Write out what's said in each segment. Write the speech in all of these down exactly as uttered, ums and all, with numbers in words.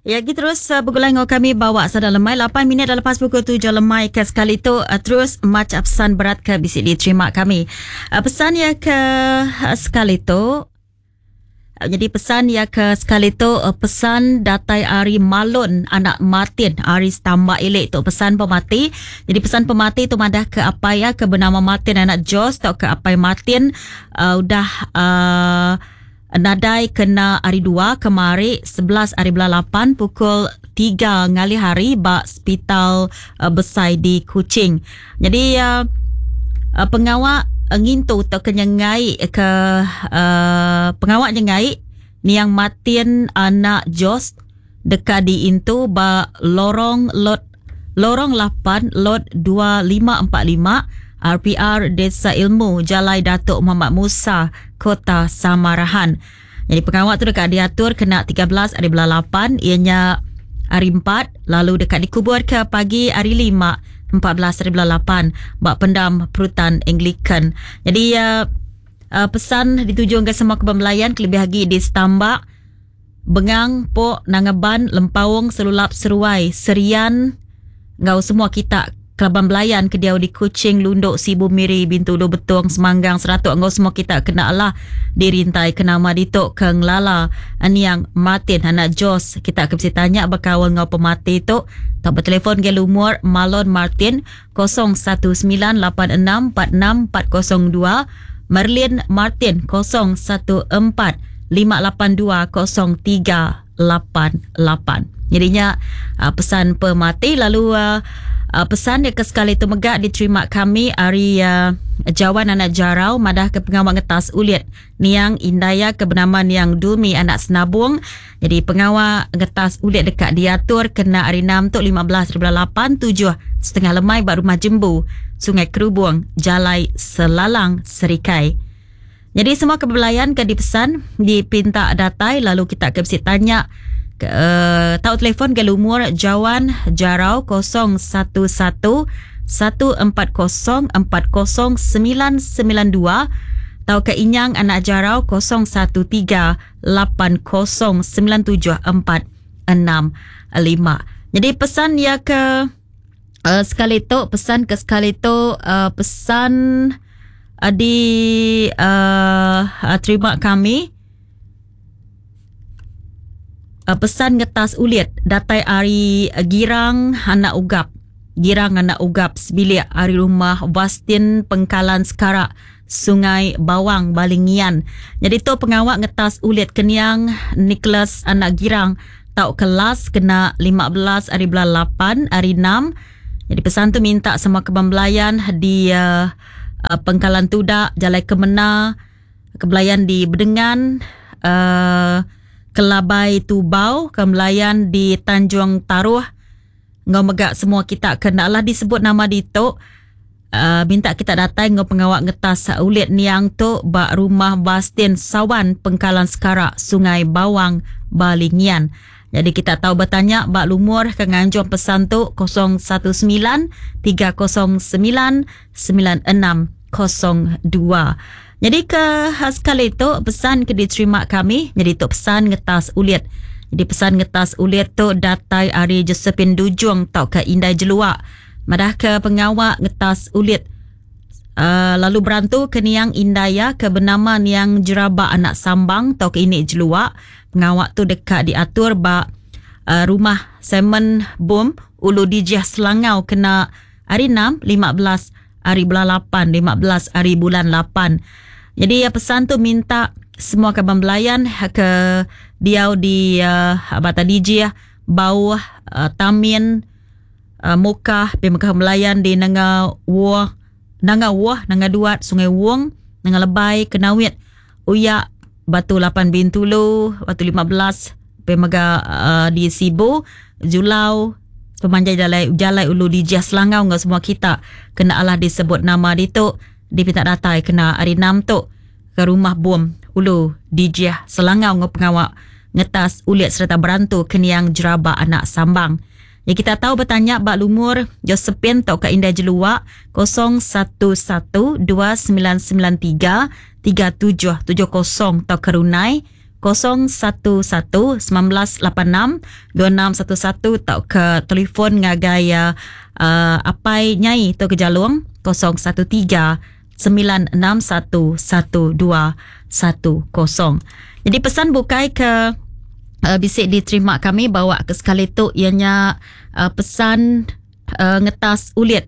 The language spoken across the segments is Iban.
Ya, kita terus uh, bergulai dengan kami bawa sada lemai lapan minit dah lepas pukul tujuh lemai ke sekali tu uh, terus macam pesan berat ke bisik diterima kami. Uh, pesan ya ke uh, sekali tu uh, jadi pesan ya ke sekali tu uh, pesan datai ari Malon anak Martin ari Stambak Ilik tu pesan pemati. Jadi pesan pemati tu madah ke apa ya ke bernama Martin anak Jos atau ke apai Martin uh, udah uh, nadai kena hari dua kemari sebelas hari bulan lapan pukul tiga ngalih hari ba hospital uh, besai di Kuching. Jadi uh, uh, pengawak uh, ngintu atau kenyengai ke uh, pengawak nyengai niang Martin anak Jos dekat di intu ba lorong lot lorong lapan lot dua lima empat lima R P R Desa Ilmu Jalai Datuk Muhammad Musa Kota Samarahan. Jadi pengawal tu dekat diatur kena tiga belas hari bulan lapan, ianya hari empat, lalu dekat dikubur ke pagi hari lima, empat belas hari bulan lapan bak pendam Perutan Anglican. Jadi uh, uh, pesan dituju ke semua kebembelayan kelebih lagi di Stambak, Bengang, Pok, Nangaban, Lempaung, Selulap, Seruai, Serian, ngau semua kita Kelaban Belayan ke diau di Kuching, Lundok, Sibu, Miri, Bintulu, Betong, Semanggang, Seratuk, ngau semua kita kena lah dirintai ke nama ditok ke ngelala niang Martin anak Jos. Kita akan mesti tanya berkawal ngau pemati tu. Tak bertelefon ke lumur Malon Martin kosong satu sembilan lapan enam empat enam empat kosong dua, Merlin Martin kosong satu empat lima lapan dua kosong tiga lapan lapan. Jadinya uh, pesan pemati lalu uh, Uh, pesan dia ke sekali tu megak diterima kami hari uh, Jawan anak Jarau madah ke pengawal ngetas ulit niang Indaya ke bernama niang Dumi anak Senabung. Jadi pengawal ngetas ulit dekat diatur kena hari enam tu lima belas hari bulan lapan tujuh setengah lemai bak rumah Jembu Sungai Kerubung Jalai Selalang Serikai. Jadi semua kebelayan ke dipesan dipinta datai lalu kita ke mesti tanya ke, uh, tahu telefon ke lumur Jawan Jarau kosong satu satu satu empat kosong empat kosong sembilan sembilan dua atau ke Inyang anak Jarau kosong satu tiga lapan kosong sembilan tujuh empat enam lima. Jadi pesan ya ke uh, sekali tu pesan ke sekali tu uh, pesan uh, di uh, uh, terima kami. Uh, pesan ngetas ulit datai ari uh, Girang anak Ugap. Girang anak Ugap sebilik ari rumah Bastin Pengkalan Sekarak Sungai Bawang Balingian. Jadi tu pengawak ngetas ulit keniang Nicholas anak Girang tau kelas kena lima belas hari bulan lapan hari enam. Jadi pesan tu minta semua kebembelayan di uh, uh, Pengkalan Tudak, Jalai Kemena, kebelayan di Bedengan, uh, Kelabai Tubau, kembelayan di Tanjung Taruh. Ngau megak semua kita kenalah disebut nama ditok. Uh, minta kita datang ngau pengawak ngetas ulit niang tu bak rumah Bastin Sawan Pengkalan Sekarak Sungai Bawang Balingian. Jadi kita tahu bertanya bak lumur ke nganjung pesan tu kosong satu sembilan tiga kosong sembilan sembilan enam kosong dua. Jadi ke sekali tu pesan ke diterima kami. Jadi tu pesan ngetas ulit. Jadi pesan ngetas ulit tu datai ari Josephine Dujung tau ke Indai Jeluak. Madah ke pengawak ngetas ulit. Uh, lalu berantu ke niang Indaya ke bernama niang Jeraba anak Sambang tau ke ini Jeluak. Pengawak tu dekat diatur ba uh, rumah Simon Boom Ulu Dijah Selangau kena hari enam lima belas hari bulan lapan lima belas hari bulan lapan. Jadi ya, pesan tu minta semua kaban belayan ke diau di uh, Bata Dijah, Bauh, uh, Tamin, uh, Mukah, Pemekah Melayan di Nanga Wah, Nanga Wah, Nanga Duat, Sungai Wong, Nanga Lebai, Kenawit, Uyak, Batu lapan Bintulu, Batu lima belas, Pemega uh, di Sibu, Julau, pemanjai jalai, jalai Ulu Dijah Selangau ngau semua kita kena Allah disebut nama ditu dipinta datai kena hari enam tu ke rumah bom Ulu Dijah Selangau ngau pengawak ngetas ulit serta berantu keniang Jeraba anak Sambang. Ya kita tahu bertanya bak lumur Josephine tau ke Indah Jeluak kosong satu satu dua sembilan sembilan tiga tiga tujuh tujuh kosong tau ke Runai kosong satu satu sembilan lapan enam dua enam satu satu atau ke telefon ngagai uh, uh, Apai Nyai tu ke Jalung kosong satu tiga sembilan enam satu satu dua satu kosong. Jadi pesan bukai ke uh, bisik diterima kami bawa ke sekali tu ianya uh, pesan uh, ngetas ulit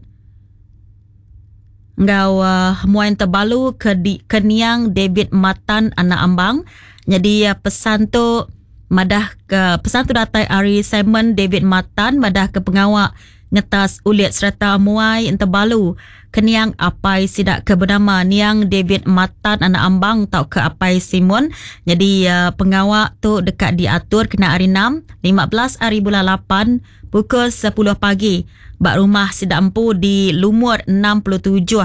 ngau uh, muain terbalu ke di, ke niang David Matan anak Ambang. Jadi uh, pesan tu madah ke pesan tu datai ari Simon David Matan madah ke pengawak ngetas ulit serta muai entebalu keniang apai sidak ke bernama niang David Matan anak Ambang tau ke apai Simon. Jadi uh, pengawak tu dekat diatur kena hari enam lima belas hari bulan lapan pukul sepuluh pagi bak rumah sidak empu di Lumur enam puluh tujuh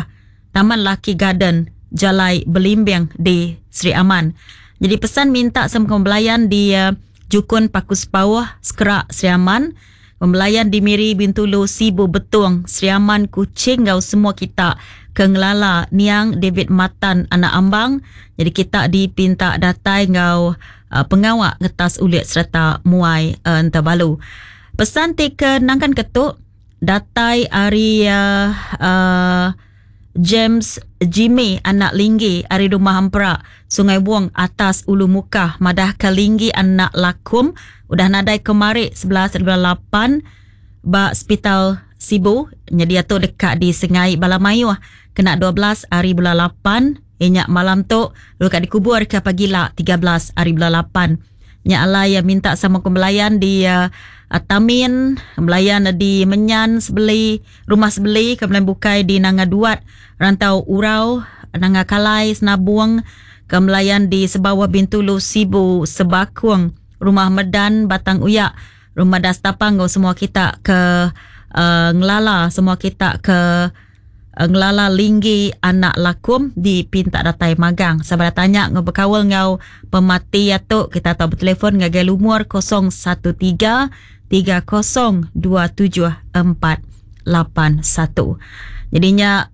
Taman Laki Garden Jalai Belimbing di Sri Aman. Jadi pesan minta semua pembelayan di uh, Jukun Paku Sepauh Sekerak Sri Aman, pembelayan di Miri Bintulu Sibu Betung Sri Aman Kuching ngau semua kita ke ngelala niang David Matan anak Ambang. Jadi kita dipinta datai ngau uh, pengawak ngetas ulit serta muai uh, entebalu. Pesan ti ke nangkan ketuk datai ari uh, uh, James Jimmy anak Linggi ari rumah Hampra Sungai Buong atas Ulu Mukah madah ke Linggi anak Lakum udah nadai kemari sebelas bulan lapan ba Hospital Sibu. Jadi atu dekat di Sengai Balamayuh kena dua belas hari bulan lapan inyak malam tu dekat dikubur ke pagila tiga belas hari bulan lapan. Nyak alai minta sama kembelayan di uh, Tamin, kembelayan di Menyan sebeli, rumah sebeli, kembelayan bukai di Nanga Duat, Rantau Urau, Nanga Kalai, Senabung, kembelayan di Sebawah Bintulu, Sibu, Sebakung, Rumah Medan, Batang Uyak, Rumah Dastapang, semua kita ke uh, ngelala, semua kita ke uh, ngelala Linggi anak Lakum di Pintak Datai Magang. Sabar tanya ngau berkawal ngau pemati atuk kita tahu bertelefon ngagai lumur kosong satu tiga tiga kosong dua tujuh empat lapan satu. Jadinya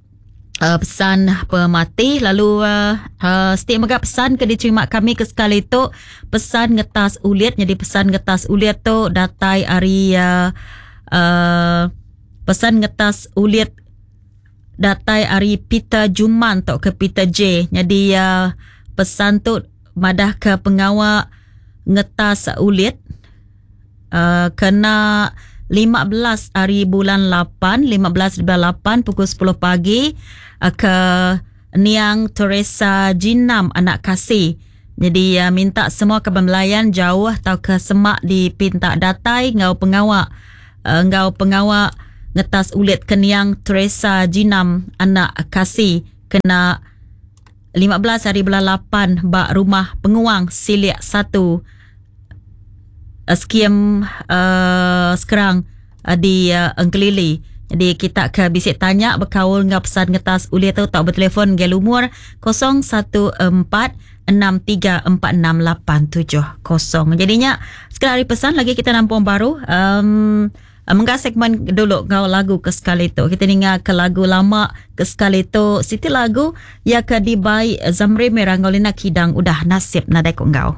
uh, pesan pemati lalu uh, uh, setiap megap pesan ke diterima kami ke sekali tu pesan ngetas ulit. Jadi pesan ngetas ulit tu datai ari uh, uh, pesan ngetas ulit datai ari Peter Juman atau ke Peter J. Jadi uh, pesan tu madah ke pengawak ngetas ulit uh, kena lima belas hari bulan lapan, lima belas bulan lapan pukul sepuluh pagi uh, ke Niang Teresa Jinam anak Kasih. Jadi uh, minta semua kebembelayan jauh atau ke semak di Pintak Datai ngau pengawak uh, ngau pengawak ngetas ulit keniang Teresa Jinam anak Kasih kena lima belas hari bulan lapan bak rumah penguang Silik satu uh, skim uh, sekarang uh, di uh, Engkelili. Jadi kita ke bisik tanya berkaul ngau pesan ngetas ulit tu tak bertelefon gel umur kosong satu empat enam tiga empat enam lapan tujuh kosong. Jadinya sekali hari pesan lagi kita nampung baru um, menggah segmen dulu ngau lagu ke sekali tu. Kita dengar ke lagu lama ke sekali tu. Siti lagu ya ke dibai Zamri Merah ngau Lina Kidang udah nasib nadai ko ngau.